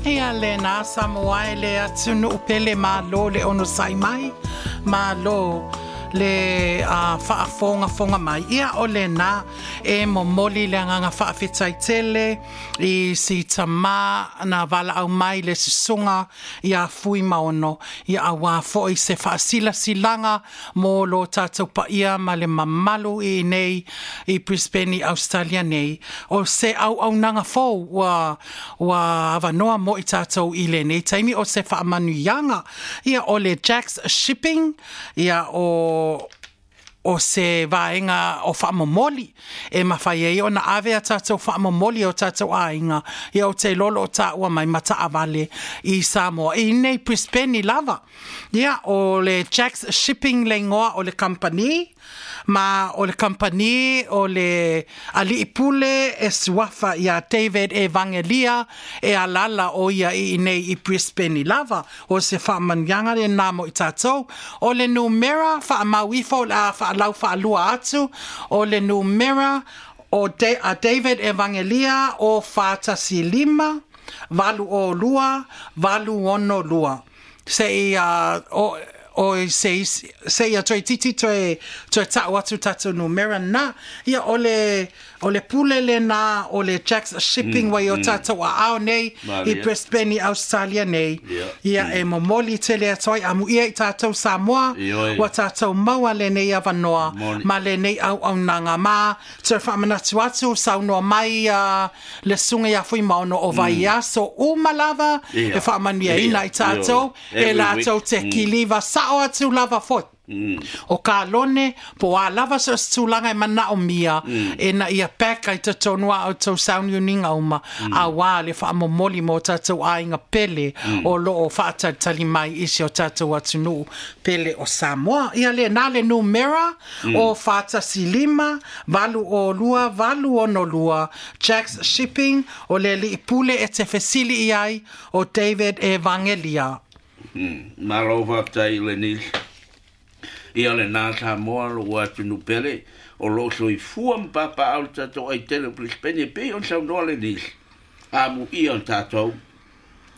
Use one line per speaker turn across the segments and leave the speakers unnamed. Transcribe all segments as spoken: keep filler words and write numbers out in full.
Ia lena Samoa e le atunuu pele, malo le onosai mai, malo le uh, faafogafoga mai. Ia o lena e momoli le agaga faafetai tele i si tamā na valaau mai le susuga ia Fuimaono, ia auā foʻi se faasilasilaga mo lo tatou paia ma le mamalu i nei i Brisbane i Australia nei, o se auaunaga fou ua ua avanoa mo i tatou i lenei taimi, o se faamanuiaga ia o le Jacks Shipping. Ia o o se vaega o faamomoli e mafai ai ona ave a tatou faamomoli o tatou aiga, ia o te lolo o taua mai ma taavale i Samoa i nei Brisbane lava. Ia o le Jacks Shipping le igoa o le kamupani, ma o le kamupani o le alii pule e suafa ia David Evangelia e alala o ia i nei i Brisbane lava. O se faamanuiaga lenā mo i tatou. O le numera faamau ifo o le a faalau faalua atu, o le numera o De, a David Evangelia o fa tasi lima, valu o lua, valu ono lua. Se i uh, o, o se se ia toe titi toe toe ta'u atu tatou numera na. Ia o le o le pule lena o le Jacks Shipping mm, wai o mm. tatou aao nei i Brisbane i Australia nei. Ia e momoli tele atu ai amuia i tatou Samoa ua tatou maua lenei avanoa ma lenei auaunaga. Ma toe faamanatu atu, saunoa mai uh, le susuga ia Fuimaono o vaiaso uma lava e faamanuiaina i tatou e latou te kiliva sao atu lava foi Mm. O kalone po a lava so se tulaga e manaomia mm. e na ia peka i totonu a outou sauniuniga uma mm. auā le faamomoli mo tatou aiga pele mm. o loo faatalitali mai i si o tatou atunuu pele o Samoa. Ia lenā le numera mm. o fa tasi lima, valu o lua, valu ono lua, Jacks Shipping, o le alii pule e te fesili i ai o David Evangelia.
Mm. Malo faafetai i le nisi. Ia lenā Samoa lou atunuu pele o loo soifua ma papaao le tatou ai tele o Brisbane e pei ona saunoa le nisi. Amuia o tatou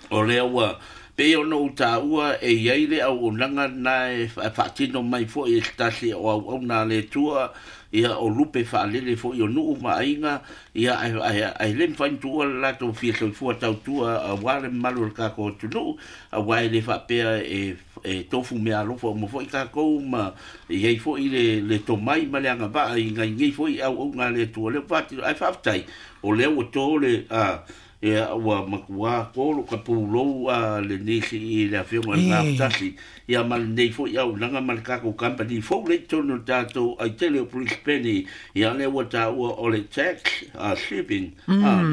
o lea ua pei ona ou taua e iai le auaunaga na e faatino mai foʻi e se tasi o auauna a le Atua, ia o lupe faalele foʻi o nuu ma aiga, ia ae le mafai ona tuua le latou fia soifua tautua auā le mamalu o le tatou atunuu, auā e le faapea e e tofu mea alofa uma foʻi tatou ma iai foʻi le le tomai ma le agavaa i nai foʻi auauna a le Atua lea ua faatino ae faafetai o lea ua to le a ia ua matuā tolo ka pulou a le nisi i le afioga i le Gafatasi ia ma lenei foʻi auaunaga ma le tatou company fou lea i totonu o le tatou aitele o Brisbane, ia lea ua taua o le Tax uh, Shipping uh,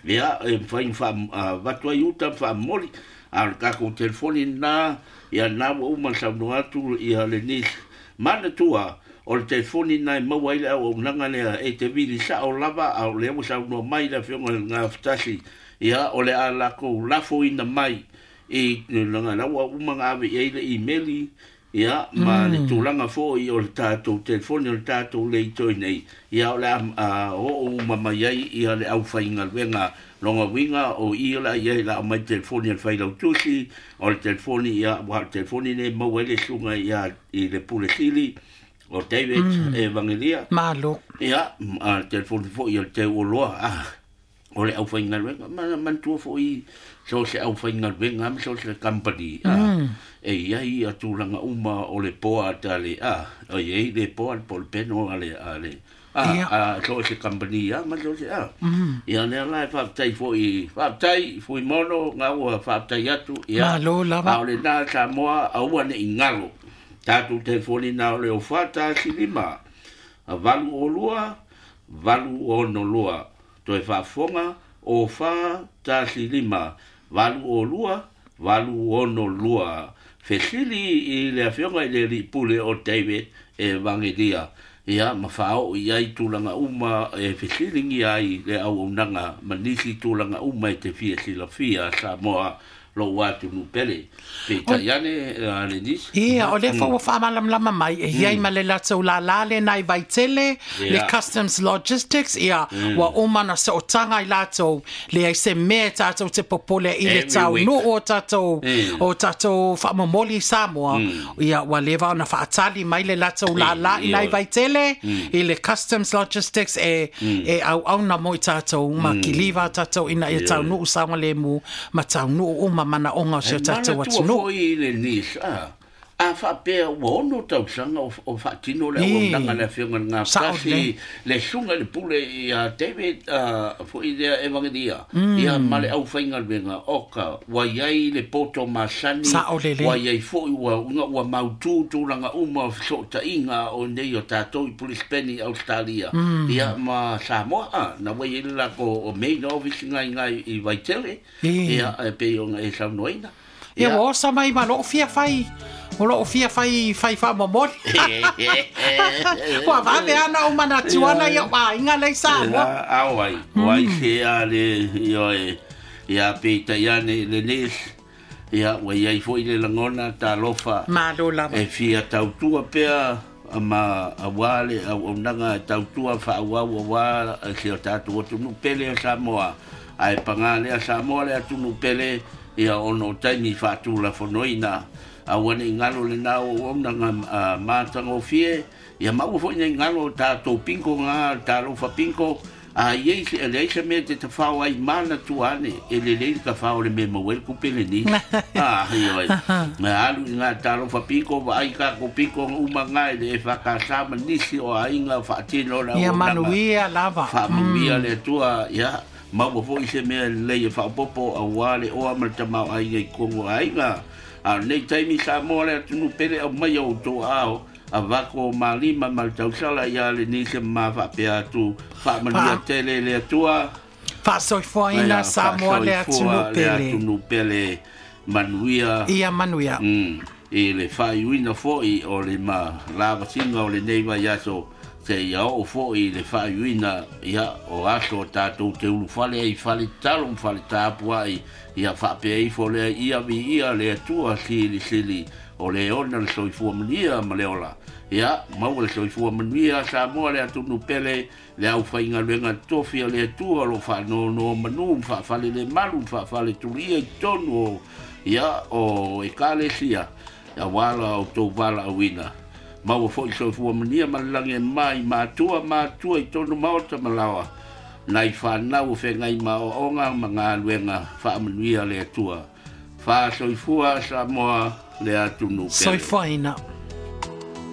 ia e mafai ona faavatu ai uta ma faamomoli a o le tatou telefoni lena. Ia lena ua uma ona saunoa atu ia le nisi manatua o le telefoni lena e maua ai le auaunaga lea e te vili sao lava a o lea ua saunoa mai le afioga i le Gafatasi, ia o le a latou lafoina mai i tulaga la ua uma ona ave i ai le imeli, ia ma le tulaga foʻi o le tatou telefoni o le tatou leitoi nei, ia o le a oo uma mai ai ia le aufaigaluega lona uiga o i o le a i ai la aumai telefoni a le failautusi o le telefoni, ia ua o le telefoni nei maua ai le susuga ia i le pule sili o David mm. Evangelia.
Malo.
Ia, a le telefoni foʻi o le teuoloa a o le aufaigaluega ma manatua foʻi so se aufaigaluega ma so se company a mm. e iai ia tulaga uma o le board a le a o iai le board po o le panel a le a le a a so se company a ma so se a mm. ia lea la e faafetai foʻi faafetai Fuimaono ga ua faafetai atu ia.
Malo lava.
A o lenā Samoa aua nei galo tatou telefoni na o le o fa tasi lima valu o lua valu ono lua toe faafofoga o fa tasi lima valu o lua valu ono lua fesili i le afioga i le alii pule o David Evangelia ia ma faaoo i ai tulaga uma e fesiligia ai le auaunaga ma nisi tulaga uma e te fia silafia Samoa. lou atunuu pele peitai ane le nisi.
Ia, o lea foi ua faamalamalama mai e iai ma le latou lālā lena i Vaitele, le Customs Logistics, ia, ua uma na sootaga i latou, leai se mea e tatou te popole i le taunuu o tatou, o tatou faamomoli i Samoa, ia, ua leva ona faatali mai le latou lālā i nai Vaitele, i le Customs Logistics e, e auauna mo i tatou, ma kiliva tatou ina ia taunuu saogalemu, ma taunuu uma manaoga o si o tatou atunuu.
Foi le nisi, a a faapea ua ono tausaga o, o faatino le auaunaga le afioga i le Gafatasi le suga i le pule ia David foi lea Evangelia ia ma le aufaigaluega oka ua iai le poto masani ua iai foi ua ua mautū tulaga uma o fesootaiga o nei o tatou i Brisbane i Australia ia ma Samoa na ua iai le latou o main office gaigai i Vaitele ia e pei ona e saunoaina.
Ia ua osa mai ma loo fia fai, o loo fia fai fai faamomoli. Ua vave ana o manatu ana ia aiga lei Samoa.
Ao ai, o ai se a le ioe ia peitai ane le nisi ia ua iai foi le lagona talofa.
Malo lava.
E fia tautua pea ma auā le auaunaga e tautua faaauau auā se o tatou atunuu pele o Samoa. Ae pagā lea Samoa le atunuu pele ia ona o taimi faatulafonoina aua nei galo lena auaunaga matagofie ia maua foi nei galo o tatou pinko gā talofa pinko a iai se leai se mea te tafao ai manatua ane e lelei le tafao le mea maua ai le kupe lenei. Ah, ioe. Ma alu i ngā talofa pinko vaai kako pinko uma ngā i le e whakasa ma nisi o aiga faatino le
Ia
auaunaga.
Manuia lava.
Faamanuia le Atua ia maua foi se mea lelei e faaopoopo auā le oa ma le tamaoaiga i totonu o aiga. A o lenei taimi Samoa le atunuu pele aumai o outou aao avako o malima ma le tausala ia le nisi ma faapea atu faamanuia tele le Atua.
Faasoifuaina Samoa le atunuu
le
pele.
Atunuu pele manuia.
Ia manuia.
Mm, i le faaiuina foi o le ma lavasiga o lenei vaiaso se ia oo foi le faaiuina ia o aso o tatou te ulufale ai fale tatalo ma fale tapuai ia faapea ifo lea ia viia le Atua silisili o le ona le soifua manuia ma le ola. Ia maua le soifua manuia Samoa le atunuu pele le aufaigaluega tofi o le Atua o loo faanonomanu ma faafale le malu ma faafale tulia i totonu o ia o ekalesia auā la outou valaauina. Maua foi soifua manuia ma le lagi e mai matua matua i tonu maota ma laoa nai whanau o whengai maoaoga ma galuega faamanuia le Atua. Faasoifua Samoa le atunuu pele.
Soifuaina.